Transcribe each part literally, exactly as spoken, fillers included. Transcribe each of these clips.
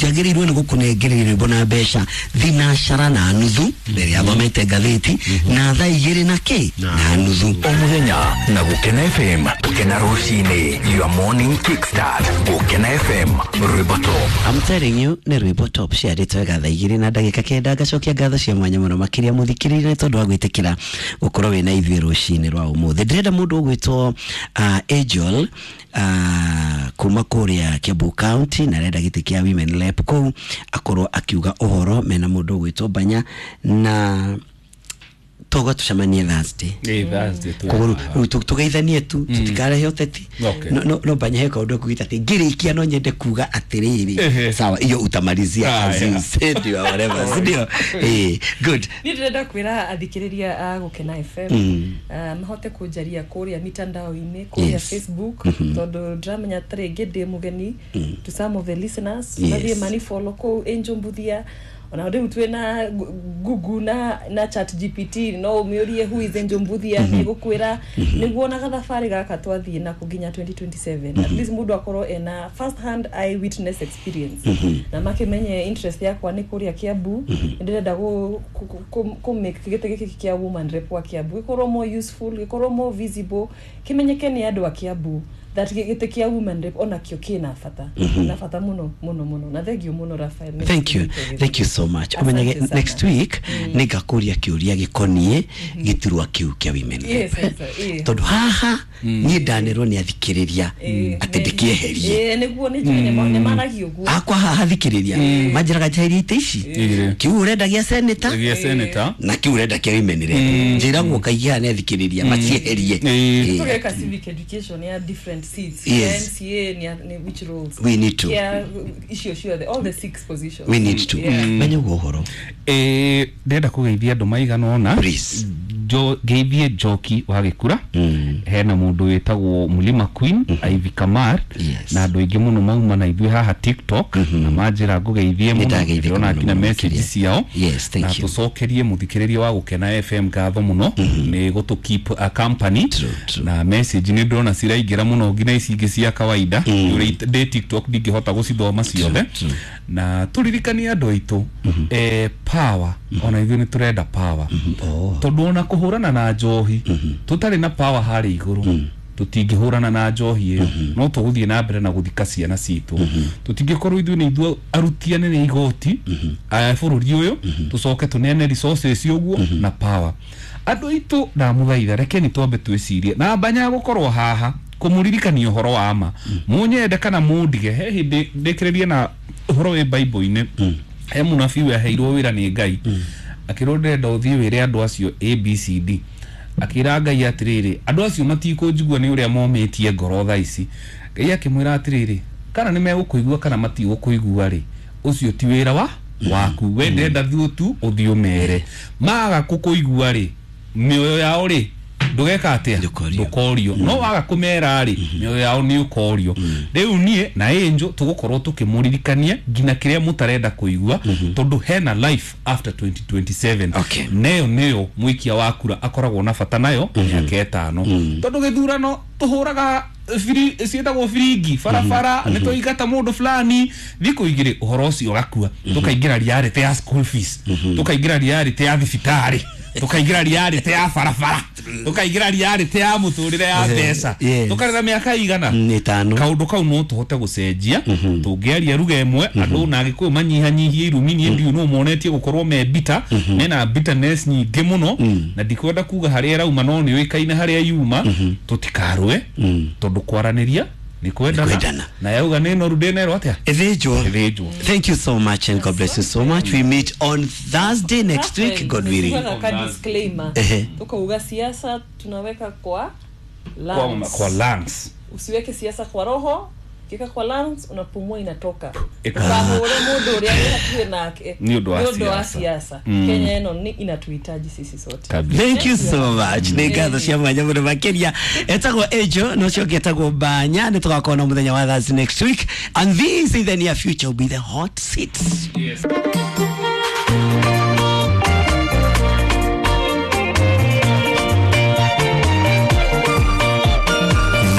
Njagĩrĩirwo nĩ gũkũnengereria rwĩmbo na mbeca thinacara na nuthu rĩrĩa thomete ngathĩti na thaa igĩrĩ na kĩ na nuthu. O mũthenya na Gũkena F M, Gũkena rũcinĩ, your morning kickstart. Gũkena F M, rwĩmbo top. I'm telling you nĩ rwĩmbo top ciarĩtwo wega thaa igĩrĩ na ndagĩka kenda. Ngacokia ngatho cia mwanya mũno makĩria mũthikĩrĩria nĩ tondũ wa gwĩtĩkĩra gũkorwo wĩna ithuĩ rũcinĩ rwa ũmũthĩ. Ndĩrenda mũndũ ũgwĩtwo uh, Angel uh, kuma kũrĩa Kiambu County na arenda gĩtĩ kĩa Women Rep kũu akorwo akiuga ũhoro mena mũndũ ũgwĩtwo Banya na toga tucemanie Thursday. Eh, Thursday tu. Koguo rĩu tũgeithanie tu tutikarehe ũteti. No no no Banya he kaũndũ kugita atĩ ngĩrĩkia no nyende kuga atĩrĩrĩ. Sawa, hiyo utamalizia as you said you whatever. Ndio. Eh, good. Ni ndĩrenda kwĩra athikĩrĩria a Gũkena F M mahote kũnjaria kũrĩa mitandao-inĩ, kũrĩa Facebook, tondũ ndĩramenya ta rĩngĩ ndĩ mũgeni to some of the listeners. Mathiĩ mani follow kũu Angel Mbuthia. Ona rĩu twĩna Google na na Chat G P T no ũmĩũrie who is Angel Mbuthia nĩgũkwĩra nĩguo na gathabarĩ gaka twathiĩ nako nginya twenty twenty-seven. At least mũndũ akorwo ena first hand eye witness experience na makĩmenye interest yakwa nĩ kũrĩa Kiambu. Ndĩrenda gũ make gĩtĩ gĩkĩ kĩa woman rep wa Kiambu gĩkorwo more useful, gĩkorwo more visible, kĩmenyeke nĩ andũ a Kiambu that gĩtĩ kĩa woman rep ona kĩo kĩna bata na bata mũno mũno mũno. Na thank you mũno Raphael. Thank you, thank you so much. Umenyage next week nĩngakũria kĩũria gĩkoniĩ gĩturwa kĩu kĩa women rep tondũ haha niĩ ndanerwo nĩ athikĩrĩria atĩ ndĩkĩeherie. Nĩguo nĩ njũĩ nĩ maragia ũguo akwa haha thikĩrĩria manjĩraga njeherie itĩ ici kĩu ũrenda gĩa senator gĩa senator na kĩu ũrenda kĩa women rep njĩragwo kaingĩ haha nĩ athikĩrĩria macieherie. Tũgeka civic education ya different seats. Yes. M C A ni which roles we need to. Yeah, icio ciothe, all the six positions we need to. Menya ũguo ũhoro eh ndĩrenda kũgeithia andũ maigana ũna. Please. Jo geithie Njoki wa Gĩkura, hena mũndũ wĩtagwo Mulima Queen, Ivy Kamar, na andũ aingĩ mũno mauma na ithuĩ haha TikTok na manjĩra ngũgeithie mũno, ndĩrona nginya message ciao. Yes, thank you. Na tũcokerie mũthikĩrĩria wa Gũkena F M ngatho mũno nĩ gũtũ keep a company. Na message nĩ ndĩrona ciraingĩra mũno nginya ici ingĩ cia kawaida ndĩ TikTok ndingĩhota gũcithoma ciothe. Na tũririkanie andũ aitũ eh power, ona ithuĩ nĩ tũrenda power tondũ ona kũhũrana na njohi tũtarĩ na power harĩ igũrũ tũtingĩhũrana na njohi ĩyo, no tũgũthiĩ na mbere na gũthika ciana citũ. Tũtingĩkorwo ithuĩ nĩ ithuĩ aruti anene igoti a bũrũri ũyũ tũcoke tũneane resources ũguo na power. Andũ aitũ ndamũthaitha rekeni twambe twĩcirie na Banya gũkorwo haha kũmũririkania ũhoro wa ma mũnyende kana mũndige. He hĩndĩ ndĩkĩrĩrie na ũhoro wĩ Bible-inĩ, he mũnabii weheirwo wĩra nĩ Ngai akĩrwo ndĩrenda ũthiĩ wĩre andũ acio A B C D. Akĩra Ngai atĩrĩrĩ, andũ acio matikũnjigua nĩ ũrĩa momĩtie ngoro thaa ici. Ngai akĩmwĩra atĩrĩrĩ, kana nĩ megũkũigua kana matigũkũigua rĩ, ũcio ti wĩra wa waku, we ndĩrenda thiĩ tu ũthiĩ ũmere. Maga kũkũigua rĩ, mĩoyo yao rĩ ndũgeka atĩa, ndũkorio. No waga kũmera rĩ, mĩoyo yao nĩ ũkorio. Rĩu niĩ na Angel tũgũkorwo tũkĩmũririkania nginya kĩrĩa mũtarenda kũigua tondũ hena life after twenty twenty-seven. Neyo nĩyo mũikia wa kura akoragwo na bata nayo mĩaka ĩtano tondũ gĩthurano tũhũraga firi ciĩtagwo firingi barabara nĩ tũingata mũndũ fulani thikũ igĩrĩ ũhoro ũcio ũgakua, tũkaingĩra reality ya school fees, tũkaingĩra reality ya thibitarĩ, tukaingira reality ya barabara, tukaingira reality ya muturire ya mbeca, tukarera miaka igana itano. Kaundu kau no tuhote gucenjia tungiaria ruga imwe andu na Gikuyu manyihanyihie irumi. Nie ndiu no monetie gukorwo me bitter, mena bitterness nyingi muno na ndikwenda kuga haria irauma no ni uikaine haria yuma. Tutikarwe tondu kwaraniria ni kwendana na yauga nĩ noru ndĩnerwo atĩa ĩthĩnjwo. Ĩthĩnjwo. Thank you so much and God bless you so much. We meet on Thursday next week, God willing. Disclaimer, tukauga siasa tunaweka kwa lungs. Kwa lungs. Usiweke siasa kwa roho, ukiweka kwa lungs unapumua inatoka. Ukahore mundu uria wĩ hakuhĩ nake nĩ ũndũ wa siasa. Kenya ĩno nĩ inatuhitaji sisi sote. Thank you so much. Nĩ ngatho cia mwanya mũno makĩria. Etagwo Angel no ũcio ũngĩ etagwo Banya. Nĩ tũgakorwo na mũthenya wa Thursday next week, and this in the near future will be the hot seats. Yes.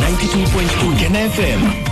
ninety-two point two Kena F M.